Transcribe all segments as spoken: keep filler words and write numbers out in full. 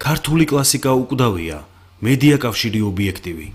ქართული კლასიკა უკვდავია, მედია კავშირი ობიექტივი.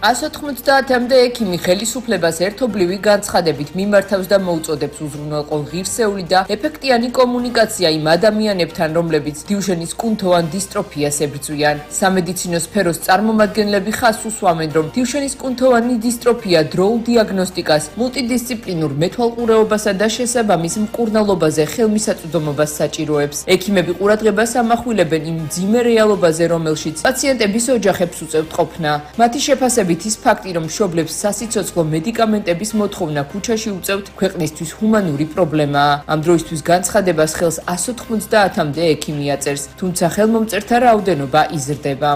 ასი ოცდაათამდე ექიმი ხელისუფლებას ერთობლივი განცხადებით მიმართავს და მოუწოდებს უზრუნველყო ღირსეული და ეფექტიანი კომუნიკაცია იმ ადამიანებთან, რომლებიც დიუშენის კუნთოვან დისტროფიას ებრძვიან. სამედიცინო სფეროს წარმომადგენლები ხაზს უსვამენ, რომ დიუშენის კუნთოვანი დისტროფია დროულ დიაგნოსტიკას, მულტიდისციპლინურ მეთვალყურეობასა და შესაბამის მკურნალობაზე ხელმისაწვდომობას საჭიროებს. ექიმები ყურადღებას ამახვილებენ იმ მძიმე რეალობაზე, რომელშიც პაციენტების ოჯახებს უწევთ ყოფნა. მათი შეფასებით ის ფაქტი, რომ მშობლებს სასიცოცხლო მედიკამენტების მოთხოვნა ქუჩაში უწევთ, ქვეყნისთვის ჰუმანური პრობლემაა. ამ დროისთვის განცხადებას ხელს ასი ოცდაათამდე ექიმი აწერს, თუმცა ხელმომწერთა რაოდენობა იზრდება.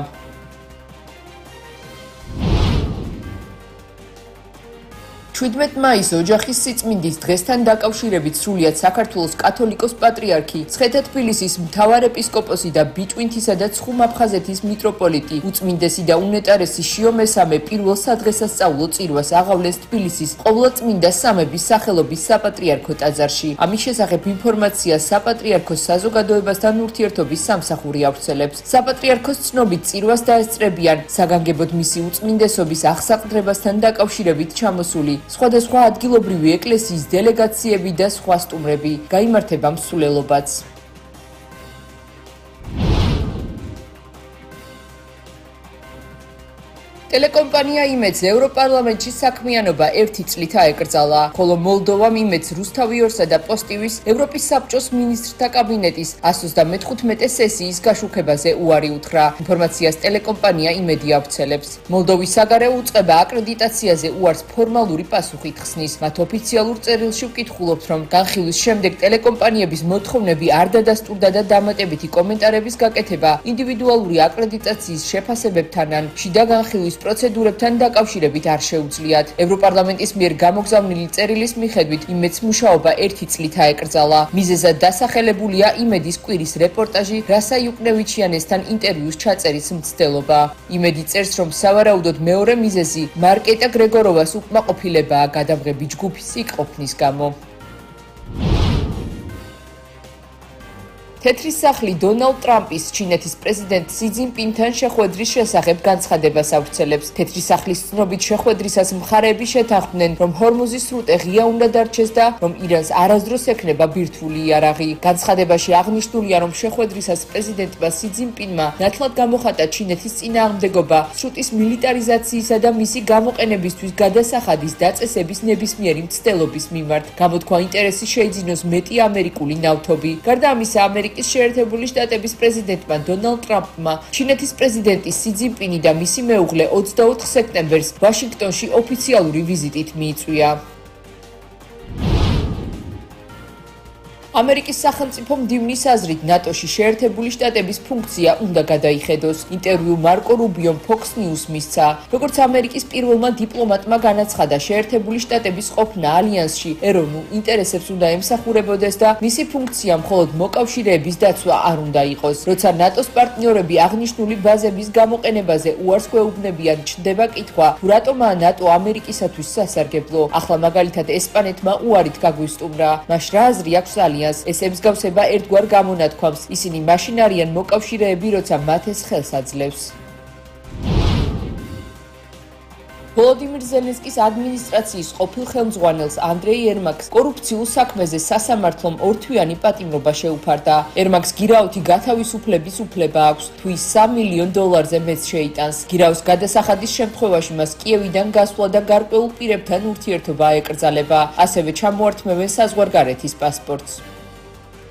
შვიდმეტ მაისს ოჯახის სიწმინდის დღესთან დაკავშირებით სრულიად საქართველოს კათოლიკოს პატრიარქი, მცხეთა-თბილისის მთავარეპისკოპოსი და ბიჭვინთისა და ცხუმ-აფხაზეთის მიტროპოლიტი, უწმინდესი და უნეტარესი შიო მესამე პირველ სადღესასწაულო წირვას აღავლეს თბილისის ყოვლადწმინდა სამების სახელობის საპატრიარქო ტაძარში. ამის შესახებ ინფორმაციას საპატრიარქოს საზოგადოებასთან ურთიერთობის სამსახური ავრცელებს. საპატრიარქოს ცნობით წირვას დაესწრებიან საგანგებოდ მისი უწმინდესობის აღსაყდრებასთან დაკავშირებით ჩამოსული სხვადასხვა ადგილობრივი ეკლესიის დელეგაციები და სხვა სტუმრები. გაიმართება მსვლელობაც. ტელეკომპანია იმედს ევროპარლამენტში საქმიანობა ერთი წლით აეკრძალა, ხოლო მოლდოვამ იმედს რუსთავი-ორსა და პოსტივის ევროპის საბჭოს მინისტრთა კაბინეტის ასი ოცდამეხუთმეტე სესიის გაშუქებაზე უარი უთხრა. ინფორმაციას ტელეკომპანია იმედი ავრცელებს. მოლდოვის საგარეო უწყება აკრედიტაციაზე უარს ფორმალური პასუხით ხსნის. მათ ოფიციალურ წერილში ვკითხულობთ, რომ განხილვის შემდეგ ტელეკომპანიების მოთხოვნები არ დადასტურდა და დამატებითი კომენტარების გაკეთება ინდივიდუალური აკრედიტაციის შეფასებებთან ან შიდა განხილვის პროცედურებთან დაკავშირებით არ შეუძლიათ. ევროპარლამენტის მიერ გამოგზავნილი წერილის მიხედვით იმედს მუშაობა ერთი წლით აეკრძალა. მიზეზად დასახელებულია იმედის კვირის რეპორტაჟი რასა იუკნევიჩიანესთან ინტერვიუს ჩაწერის მცდელობა. იმედი წერს, რომ სავარაუდოდ მეორე მიზეზი მარკეტა გრეგოროვას უკმაყოფილებაა გადამღები ჯგუფის იქ-ყოფნის გამო. თეთრი სახლი დონალდ ტრამპის ჩინეთის პრეზიდენტ სი ძინპინთან შეხვედრის შესახებ განცხადებას ავრცელებს. თეთრი სახლის ცნობით შეხვედრისას მხარეები შეთანხმდნენ, რომ ჰორმუზის სრუტე ღია უნდა დარჩეს და რომ ირანს არასდროს ექნება ბირთვული იარაღი. განცხადებაში აღნიშნულია, რომ შეხვედრისას პრეზიდენტმა სი ძინპინმა ნათლად გამოხატა ჩინეთის წინააღმდეგობა სრუტის მილიტარიზაციისა და მისი გამოყენებისთვის გადასახადის დაწესების ნებისმიერი მცდელობის მიმართ. გამოთქვა ინტერესი შეიძინოს მეტი ამერიკული ნავთობი. გარდა ამისა, ამერიკის შეერთებული შტატების პრეზიდენტმა დონალდ ტრამპმა ჩინეთის პრეზიდენტი სი ძინპინი და მისი მეუღლე ოცდაოთხ სექტემბერს ვაშინგტონში ოფიციალური ვიზიტით მიიწვია. ამერიკის სახელმწიფო მდივნის აზრით ნატოში შეერთებული შტატების ფუნქცია უნდა გადაიხედოს. ინტერვიუ მარკო რუბიომ ფოქს ნიუს მისცა. როგორც ამერიკის პირველმა დიპლომატმა განაცხადა, შეერთებული შტატების ყოფნა ალიანსში ეროვნულ ინტერესებს უნდა ემსახურებოდეს და მისი ფუნქცია მხოლოდ მოკავშირეების დაცვა არ უნდა იყოს. როცა ნატოს პარტნიორები აღნიშნული ბაზების გამოყენებაზე უარს გვეუბნებიან, ჩნდება კითხვა, თუ რატომაა ნატო ამერიკისათვის სასარგებლო. ახლა მაგალითად ესპანეთმა უარით გაგვისტუმრა. მას რა აზრი აქვს ალიანსს? ეს ემსგავსება ერთგვარ გამონათქვამს. ისინი მაშინ არიან მოკავშირეები, როცა მათ ეს ხელს აძლევს. ვოლოდიმირ ზელენსკის ადმინისტრაციის ყოფილ ხელმძღვანელს ანდრეი ერმაკს კორუფციულ საქმეზე სასამართლომ ორთვიანი პატიმრობა შეუფარდა. ერმაკს გირაოთი გათავისუფლების უფლება აქვს, თუ ის სამ მილიონ დოლარზე მეც შეიტანს. გირაოს გადასახადის შემთხვევაში მას კიევიდან გასვლა და გარკვეულ პირებთან ურთიერთობა აეკრძალება. ასევე ჩამოართმევენ საზღვარგარეთის პასპორტს.